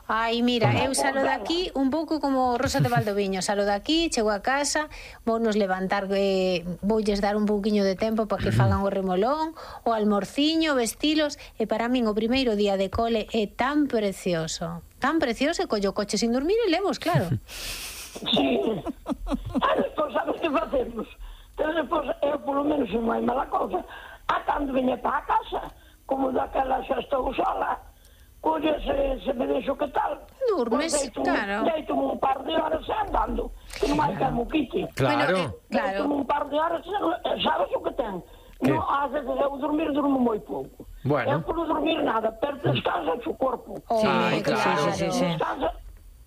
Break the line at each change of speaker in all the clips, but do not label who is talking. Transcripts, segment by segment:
Ai, mira, eu salo daqui un pouco como Rosa de Valdoviño. Salo daqui, chego a casa, vounos levantar, voulles dar un pouquiño de tempo para que fagan o remolón, o almorciño, vestilos, e para min o primeiro día de cole é tan precioso, e collo o coche sin dormir e levos, claro.
Sí. Despois, sabes que facemos? Pero despois, eu polo menos non hai mala cousa. Cando veña para a casa, como daquela xa estou sola, colle se me deixo que tal,
durmes, claro.
Deito-me un par de horas andando, que non hai que mo quite.
Claro.
Deito-me un par de horas, sabes o que ten? Non, ás veces eu durmo moi pouco.
Bueno.
Eu por dormir nada, pero descansa o corpo.
Sí, claro.
Descansa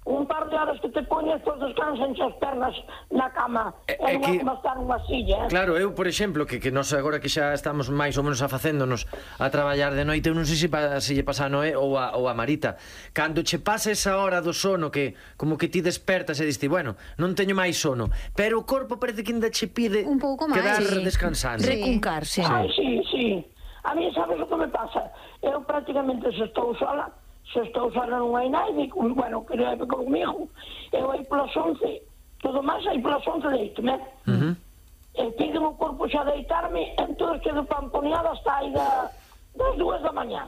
un par de horas que te poñes, pois descansan as pernas na cama, e non é como estar nunha silla.
Claro, eu, por exemplo, que nós agora que xa estamos máis ou menos afacéndonos a traballar de noite, eu non sei se lle pasa a Noé ou a Marita, cando che pasa esa hora do sono que como que ti despertas e diste, bueno, non teño máis sono, pero o corpo parece que ainda che pide
un pouco máis,
quedar descansando.
Recuncarse.
Ai, sí. A mí sabes o que me pasa? Eu prácticamente se estou sola non hai naide, bueno, que leve comigo, eu aí polas 11, todo máis aí polas 11 deito-me. E pide o corpo xa deitarme, entón quedo pamponeada hasta aí das 2 da mañá.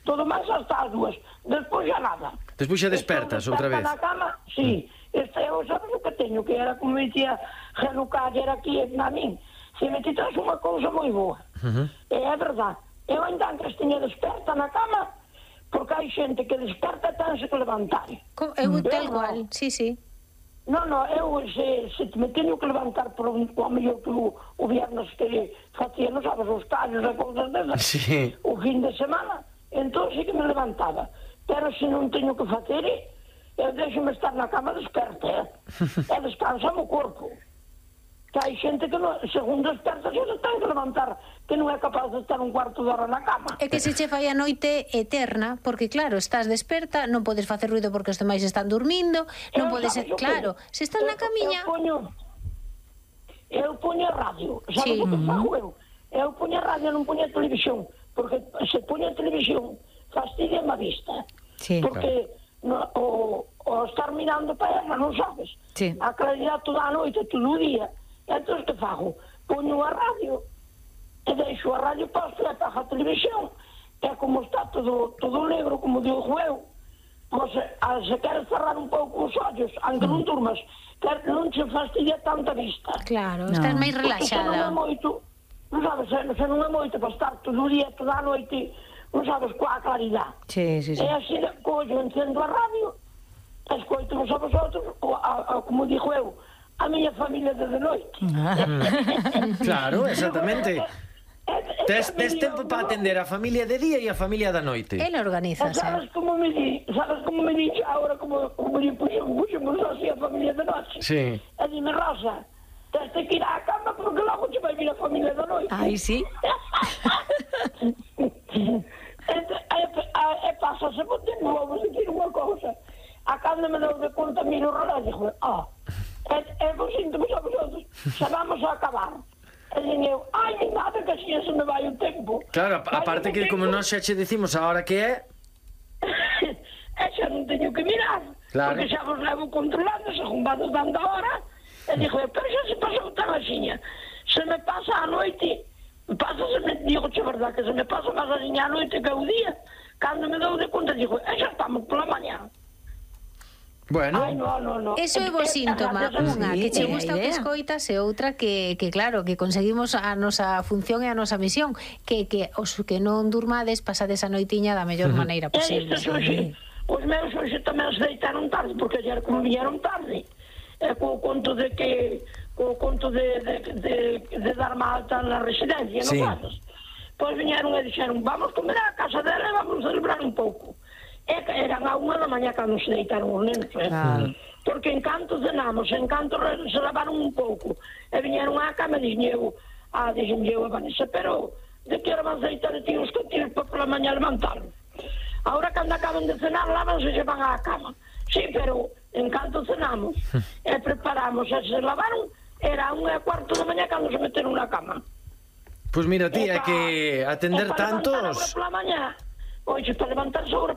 Todo máis hasta as 2, despois xa nada.
Despois xa despertas outra vez.
Na cama, sí. Eu sabes o que teño, que era como me dicía Genuca, era aquí na min. Se me titas unha cousa moi boa. E é verdad, eu ainda antes tiña desperta na cama, porque hai xente que desperta e tense que levantar.
Eu tal cual, sí.
Non, eu se me teño que levantar por o mellor que o viernes que facía, non sabes, os tallos e cousas desas, o fin de semana, entón sí que me levantaba. Pero se non teño que facer, eu deixo-me estar na cama desperta, e descansa o corpo. Que hai xente que según desperta se ten que levantar, que non é capaz de estar un cuarto de hora na cama.
É que se che fai a noite eterna, porque claro, estás desperta, non podes facer ruido porque os demais están dormindo, non podes, claro, se estás na camiña.
Eu poño a radio, sabes o que fago eu? Eu poño a radio, non poño a televisión, porque se poño a televisión fastidia a vista, porque o estar mirando para ela, non sabes? A claridade toda a noite, todo o día. Entón, que fago? Poño a radio e deixo a radio posta e apago a televisión, e como está todo negro, como digo eu, pois se queres cerrar un pouco os ollos, aunque non durmas, non se fastidia tanta vista.
Claro, estás máis relaxada.
Se non é moito, non sabes, se non é moito para estar todo o día, toda a noite, non sabes, coa claridade.
Sí.
E así, collo, encendo a radio, escoito vos a vosotros, como digo eu, a miña familia de noite.
Claro, exactamente. Tes tempo para atender a familia de día e a familia da noite.
Ela organiza,
sabes como me di agora, como lle puxemos así a familia de noite.
Sí.
E dime, Rosa, tens que ir á cama porque logo che vai vir a familia da noite.
Ai, sí.
E pásase por tempo, vamos dicir unha cousa. A cando me dou de conta, miro o relógio, e vos sinto a vosotros, xa vamos a acabar. E digo, ai, nada, que así se me vai o tempo.
Claro, aparte que como nós xa che decimos a hora que é,
e xa non teño que mirar, porque xa vos levo controlando, según vades dando a hora, e digo, pero xa se pasou tan axiña, se me pasa a noite, digo, che verdad, que se me pasa máis axiña a noite que o día, cando me dou de conta, digo, xa estamos pola mañá.
Bueno,
eso é bo síntoma, unha que che gusta o que escoitas e outra que claro, que conseguimos a nosa función e a nosa misión, que os que non durmades pasades a noitiña da mellor maneira posible.
Os meus hoxe tamén se deitaron tarde, porque ayer como viñeron tarde, co conto de dar-me alta na residencia, non sabes? Pois viñeron e dixeron, vamos comer a casa dela e vamos celebrar un pouco. Eran a 1 da mañá cando se deitaron os nenos, porque en canto cenamos, en canto se lavaron un pouco e viñeron á cama e dixen eu a Vanessa, pero de que hora van a deitar e tíos que tíos para pola mañá levantaron? Ahora cando acaban de cenar lavanse e se van á cama, sí, pero en canto cenamos e preparamos e se lavaron, era a 1:15 da mañá cando se meteron na cama.
Pois mira, tía, que atender tantos...
Pois para levantarse agora